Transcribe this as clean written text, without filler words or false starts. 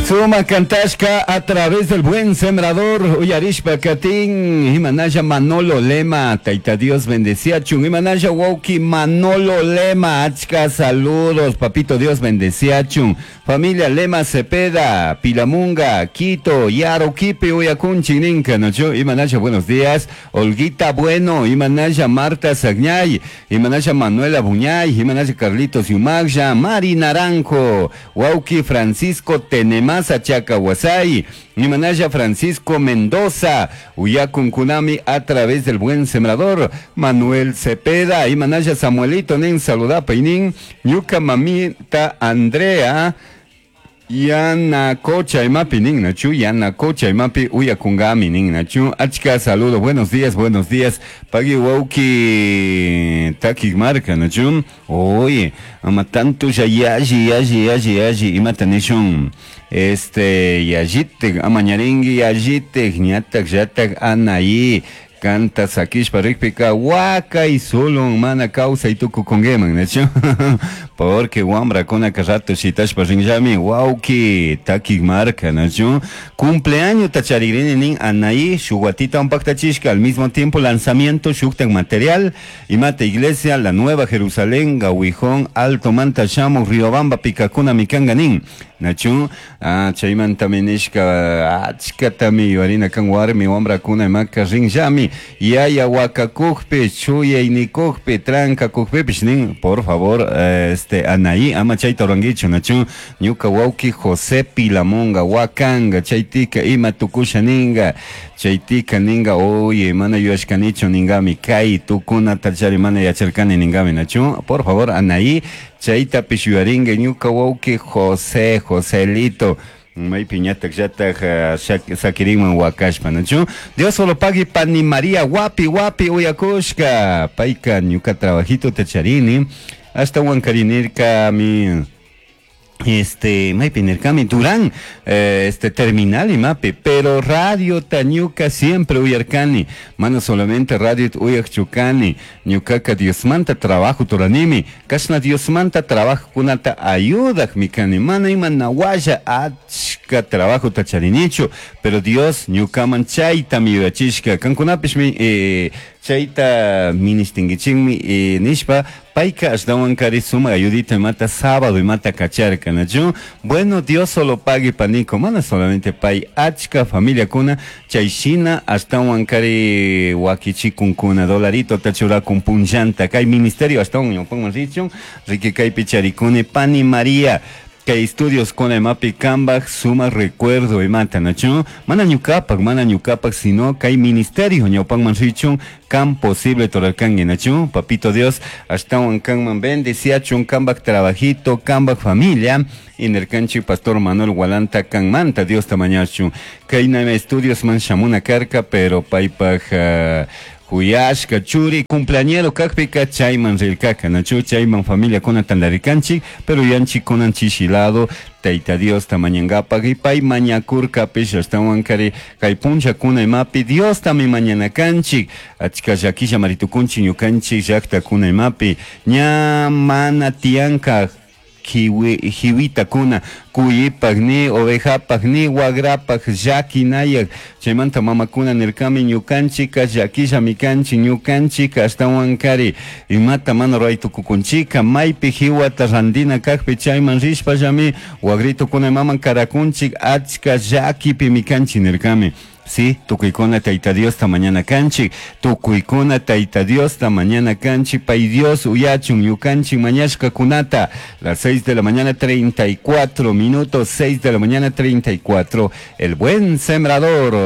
Suma cantashka a través del Buen Sembrador, uyarishpa katin, imanalla Manolo Lema, Taita Dios bendeciachun, imanalla wauki Manolo Lema, achka saludos, papito Dios bendeciachun, familia Lema Cepeda, Pilamunga, Quito, Yaroquipe, uyakunchik ninka, nachu, imanalla buenos días, Olguita Bueno, imanalla Marta Sagñay, imanalla Manuela Buñay, imanalla Carlitos Yumaglla, Mari Naranjo, wauki Francisco Tenemasa Chacahuasay, imanalla Francisco Mendoza, uyakun kunami a través del Buen Sembrador, Manuel Cepeda, imanalla Samuelito nin saludapa nin, ñuka mamita Andrea, Yana Cocha imapi nin nachu, Yana Cocha imapi uyakungami nin nachu, achka saludo, buenos días, pagui wauki taki marca nachu, oye, ama tanto ya yaji yaji yaji yaji imata nishun, este yajite, amañaringui yajite, ñatak yatak anaí, canta sakishpa rikpika wakay sulun mana kawsay tukukunkiman nachu porque wamrakunaka rato shitashpa rinllami wawki takik marka nachu cumpleaños tacharigrini nin Anaí shuk watita paktachishka al mismo tiempo lanzamiento shuktak material imata iglesia la Nueva Jerusalén Gawijón Alto Manta shamu Riobamba pikakuna mikanga nin nachu ah, chaymantami nishka achkatami yuarina kan warmi wamrakuna imaka rinllami yaya wakakukpi chuyaynikukpi trankakukpipish nin por favor este Anaí ama chayta rurankichu nachu ñuka wawki José Pilamunga wakanga chaytika ima tukusha ninga chaytika ninga oye mana yuyashkanichu ningami kay tukunata chari mana yacharkani ningami nachu por favor Anaí chaytapish yuyaringa ñuka wawki José Joselito maypi ñatak llatak sakirinman wakashpa nachu Dios solo pagui pani María wapi wapi uyakushka payka ñuka trabajito tacharini hasta wankarinirka mi este maypi nirkami Durán este terminal imapi pero radio ñuka siempre uyarkani mana solamente radio uyakchukani ñukaka Diosmanta trabajo turanimi kashna Diosmanta trabajo kunata ayudakmi kani mana ima nawalla achka trabajo tacharinichu pero Dios ñukaman chaytami yuyachishka kankunapishmi chayta ministinkichikmi nishpa payka ashtawankari sumak ayudita imata sábado imata kacharka nachu bueno Dios solo pague paniko mana solamente pay achka familiakuna chayshina ashtawankari wakichikunkuna dolarito tachurakun punllanta kay ministerio ashtawan ñawpanman richun riki kaypi charikuni pani María kay estudios con imapi kambaj suma recuerdo imata nachu mana ñukapak mana ñukapak sino kay ministerio ñawpanman richun kan posible torarkanki nachu papito Dios ashtawan kanman bendeciachun kambaj trabajito kambaj familia inirkanchik pastor Manuel Walanta kanmanta Dios ta mañachun kaynami estudios man shamuna karka pero paypaj huyashka churi cumpleañero kakpika chayman rirkaka nachu chayman familiakuna tantarikanchik pero yanchik kunan chishilado Tayta Dios ta mañankapak y pay mañakurkapish ashtawankari kay punllakuna imapi Dios tami mañana kanchik achka llakilla maritukunchik ñukanchik llaktakuna imapi ña mana tiyanka jiwitakuna cuyipaj ni ovejapaj ni wagrapaj llakinayak chaymanta mamakuna nirkami ñukanchika llakillami kanchik ñukanchika ashtawankari imata mana ruray tukukunchika maypi jiwata rantina kakpi chayman rishpallami wagritukuna imaman karakunchik achka llakipimi kanchik nirkami. Sí, tukuykuna Tayta Diosta mañana kanchik, tukuykuna Tayta Diosta mañana kanchik, pay Dios uyachun ñukanchik mañashkakunata, las 6 de la mañana 34 minutos, 6 de la mañana 34, el Buen Sembrador.